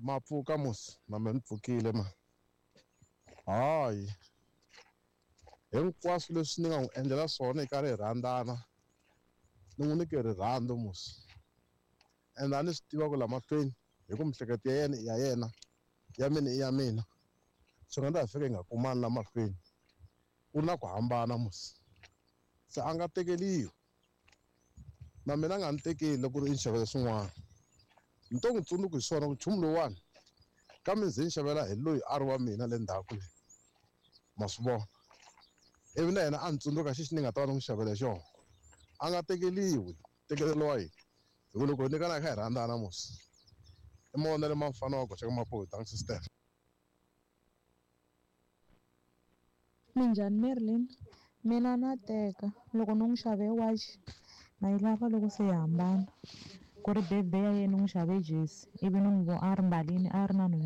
Ma pfuka musi na me ni pfukile ma. Hayi hinkwaswo leswi ni nga n'wi endlela swona hi karhi hi rhandzana ni n'wi nyike rirhandzu musi ende a ni swi tiva ku la mahlweni hi ku miehleketo ya yena i ya yena ya mina i ya mina swi nga ndza hi fika hi nga kumani la mahlweni ku na ku hambana musi se a nga tekeliwi na mina a nga ni tekeli loko ku ri i ni xavela swin'wana ni to n'wi tsundzuka hi swona ku nchumu lowuwani kambe ndzi ni xavela hi loyi a ri wa mina le ndzhaku le ma swi vona ivi na yena a ni tsundzuka xexi ni nga ta va ni n'wi xavele xona a nga tekeliwi tekeleriwa yini hi ku loko hi nyikana hi kha hi rhandzana musi i mavonelo ma mfana wa goxa ka mapuhi thanks sister. Minjhani Merlin? Mina na teka loko no n'wi xave wachi na yi lava loko se hi hambana ku ri birthday ya yena ni n'wi xave jesi ivi ni n'wi vo a ri mbalini a ri na nhwanyana.